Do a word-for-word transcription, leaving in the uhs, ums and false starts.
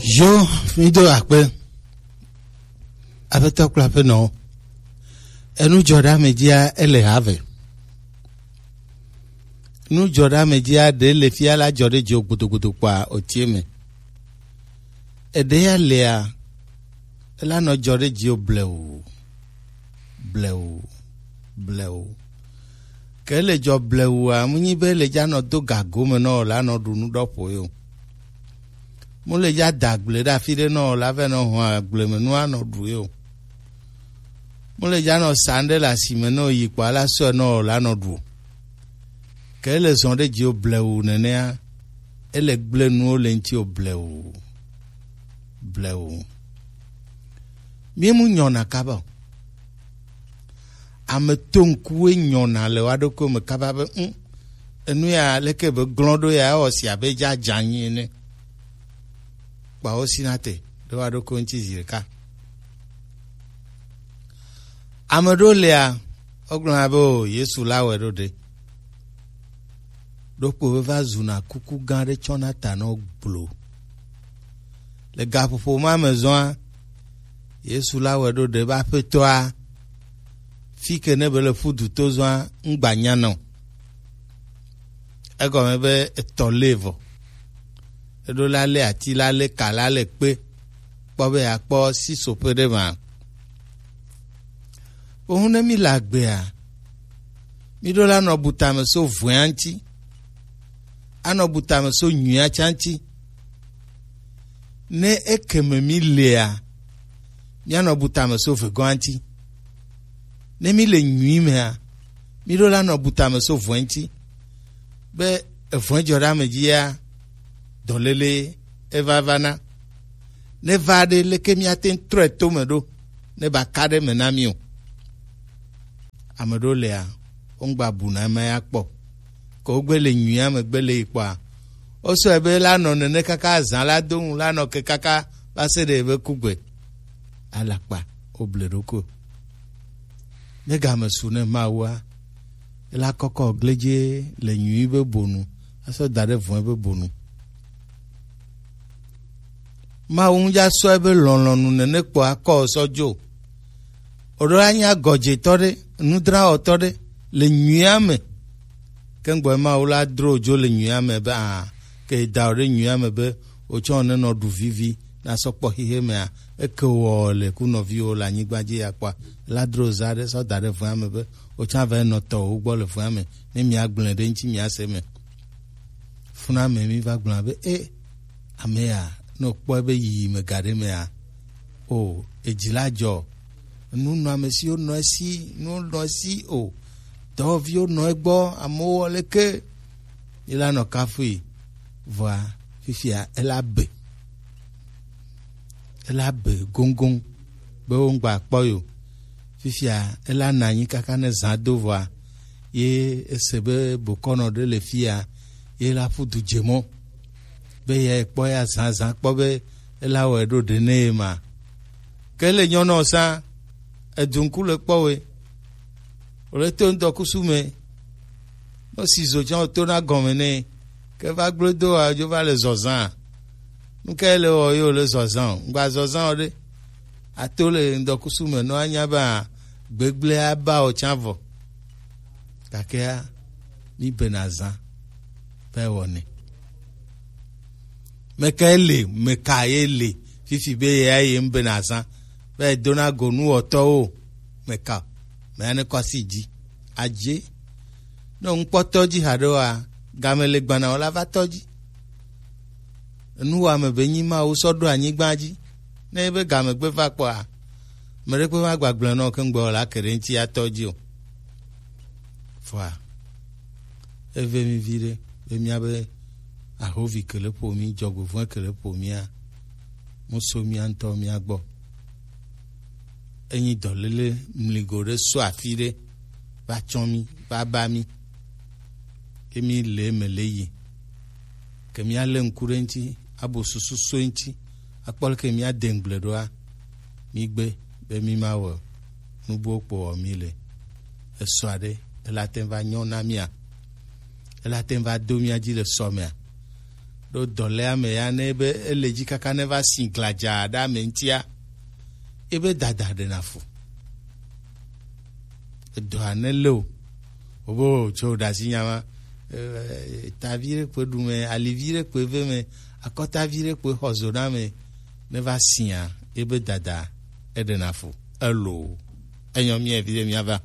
Yo, mi do akpe. Aƒetɔ kple aƒenɔwo. Enu dzɔ ɖe ame dzia, ele ha ve. Nu dzɔ ɖe ame dzia, ɖe le fia la dzɔ ɖe dziwò gbodogodo kpɔa, otie me. Eɖe ya lea, ela nɔ dzɔ ɖe dziwò blewu, blewu, blewu. Ke le dzɔ blewua, mu nyi be le dza nɔ do gago me nɔ o, la nɔ ɖu nu ɖɔ ƒo yo. Mu le dza da gble ɖe afi ɖe nɔ o, la vɛ nɔ hɔn agble me nu anɔ ɖu yo. Mu le dza nɔ sa ŋɖe le asi me nɔ o, yi kpɔ ala sɔe nɔ o, la nɔ ɖu. Ke ele zɔn ɖe dziwò blewu nenea, ele gble nuwo le ŋutiwò blewu, blewu. Mi mu nyɔna kaba o. Ame to ŋkuwoe nyɔna le wa ɖokuiwo me kaba be, "Ŋ, enu ya leke be glɔ̃ ɖo ya, ewɔ si abe dza dza anyi ene." Kpawo sina te ɖe wa ɖokuiwo ŋuti zi ɖeka. Ame ɖewo lia, wogblɔna be, "O, Yesu la wɔe ɖo ɖe." Ɖokpo be va zuna kuku gã ɖe tsɔna ta nɔ gblo. Le gaƒoƒo ma me zɔa, Yesu la wɔe ɖo ɖe be Aƒetɔa, fi ke ne be le ƒu du to zɔa, ŋgba nya nɔ. Egɔme be etɔ lé vɔ. Eɖo la lé ati, la lé ka, la lé kpe. Kpɔ be yeakpɔ sisoƒe ɖe ma. Wohu ne mi le agbea, mi ɖo la nɔ bu tame so vɔ̃ea ŋuti. Anɔ bu tame so nyuia tsa ŋuti. Ne ekeme mi lea, mianɔ bu tame so vegɔ̃a ŋuti. Ne mi le nyui mea, mi ɖo la nɔ bu tame so vɔ̃e ŋuti. Be evɔ̃e dzɔ ɖe ame dzi ya, dɔléle eva va na. Ne va ɖe, leke miate ŋu trɔe to me ɖo, ne ba ka ɖe me na mi o. Ame ɖewo lea, wongba bu na ema ya kpɔ. Ke wogbe le nyuia me gbe le yi kpɔa, wosɔe be la nɔ nene kaka azã la do ŋu, la nɔ ke kaka va se ɖe ebe kugbe. Alakpa, woble ɖokui. Ne game su ne Mawua, ela kɔkɔ gledze le nyui be bonu, asɔ da ɖe vɔ̃e be bonu. Mawu ŋu dza sɔ ebe lɔlɔ̃nu nene kpɔ akɔ sɔ dzo. Oɖo la nya gɔdzetɔ ɖe, nudrawɔtɔ ɖe le nyuia me. Ke ŋgbɔ Mawu la dro dzo le nyuia me be a, ke da o ɖe nyuia me be otsɔ ne nɔ ɖu vivi na sɔ kpɔ xixe mea, eke wɔ le ku nɔviwo le anyigba dzi ya kpɔa, la dro za ɖe sɔ da ɖe vɔ̃a me be otsɔ va nɔ tɔ wo gbɔ le vɔ̃a me ne mia gblẽ ɖe ŋuti mia se me. Funa me mi va gblɔ be e ame ya ne kpɔ ebe yiyi me ga ɖe mea, o, edzi la dzɔ. Nu nɔ ame siwo nɔ esi, nu nɔ esi o. Dɔwɔviwo nɔ egbɔ, amewo wɔ leke. Ela nɔ kafui, vɔa fifia ela be. Ela be goŋgoŋ be wo ŋgba kpɔ yo. Fifia ela nɔ anyi kaka ne zã do vɔa, ye ese be bokɔnɔ ɖe le fia, ye la ƒu du dze mɔ be ye kpɔ ya zã zã kpɔ be ela wɔe ɖo ɖe ne ye ma. Ke le nyɔnɔ sa, edu ŋku le kpɔ we. Wòle to ŋdɔkusu me. Ne si zo tsã wòtona gɔme nɛ. Ke va gblẽ do wa dzo va le zɔzã. Nu kae le wɔ ye wòle zɔzã o? Ŋgba zɔzã o ɖe. Ato le ŋdɔkusu me nɔ anya be a, gbegblẽ aba o tsã vɔ. Gakea, mi bena zã be wɔnɛ. Meka ye le, meka ye le, fifi be ye ya ye ŋbe na zã, be dona go nuwɔtɔwo, meka, me ya ne kɔ asi dzi. Adze, ne ŋkpɔtɔ dzi haɖe wa, game le gbana wòla va tɔ dzi. Enuwɔame be nyi Mawu sɔ ɖo anyigba dzi. Ne ebe game gbe va kpɔa, meɖe kpe ma gbagblẽ nɔ ke ŋgbe wòla ke ɖe ŋuti atɔ dzi o. Vɔa, eve mi viɖe be míabe ahovi ke le ƒo mí, dzɔgbevɔ̃e ke le ƒo mía, mu so mía ŋutɔ mía gbɔ. Enyi dɔléle mligo ɖe so afi ɖe va tsɔ mí, va ba mí. Ke mí le eme le yi. Ke mía lé ŋku ɖe ŋuti, abo susu so ŋuti, akpɔ leke mía de ŋgble ɖoa, mí gbe be mí ma wɔ nu buwo kpo wɔ mí le. Esɔ aɖe, ela te ŋu va nyɔ na mía? Ela te ŋu va do mía dzi le sɔ mea? ɖo dɔ lɛ ame ya ne be ele dzi kaka ne va si gladza ɖe ame ŋutia, ebe dada ɖena fu. Edɔa ne le o, wobe o tso ɖasi nya ma, eh, tavi ɖe kpe ɖu me, alivi ɖe kpe ve me, akɔtavi ɖe kpe xɔ zo na me, ne va sia, ebe dada eɖena fu. Elo, enyɔ mia vi ɖe mia va.